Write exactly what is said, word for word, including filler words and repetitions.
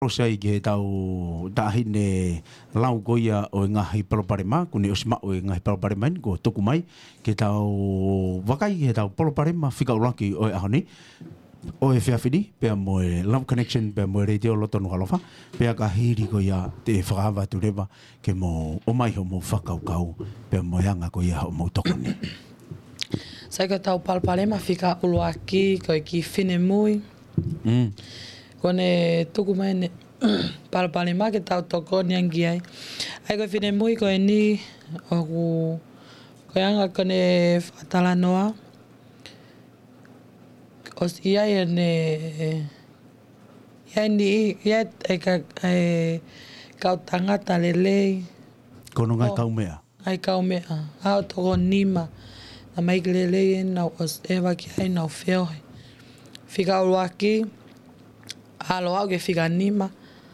ʻosi ai ki heʻetau taʻahine lau ko ia ʻo e ngaahi palopalema, kuo ne ʻosi maʻu e ngaahi palopalema eni kuo tuku mai, ke tau vakai ki heʻetau palopalema fika ʻuluaki ʻo e ʻaho ni, ʻo e efiafi ni, pea mo e Love Connection, pea mo e Letiō Loto Nukuʻalofa, pea ka hili ko ia te u fakaava atu leva ke mou ʻomai hoʻomou fakakaukau, pea mo e anga ko ia hoʻomou tokoni. Sai, ko ʻetau palopalema fika ʻuluaki, ko e kiʻi finemui. Mm. Kuo ne tuku mai ʻene palopalema ke tau tokoni ange ki ai. ʻA ia ko e finemui ko eni ʻoku, ko e anga ko ʻene fakatalanoa, ʻosi ʻi ai ʻene, ʻi ai ni, ʻi ai e ka-, e kau tangata lelei. Ko hono ngaahi kaumeʻa. Ngaahi kaumeʻa. ʻA e toko nima. Naʻe ʻikai ke lelei ʻenau ʻosi ʻeva ki ai, nau feohi. Fika ʻuluaki, ʻalu ʻo aʻu ki he fika nima.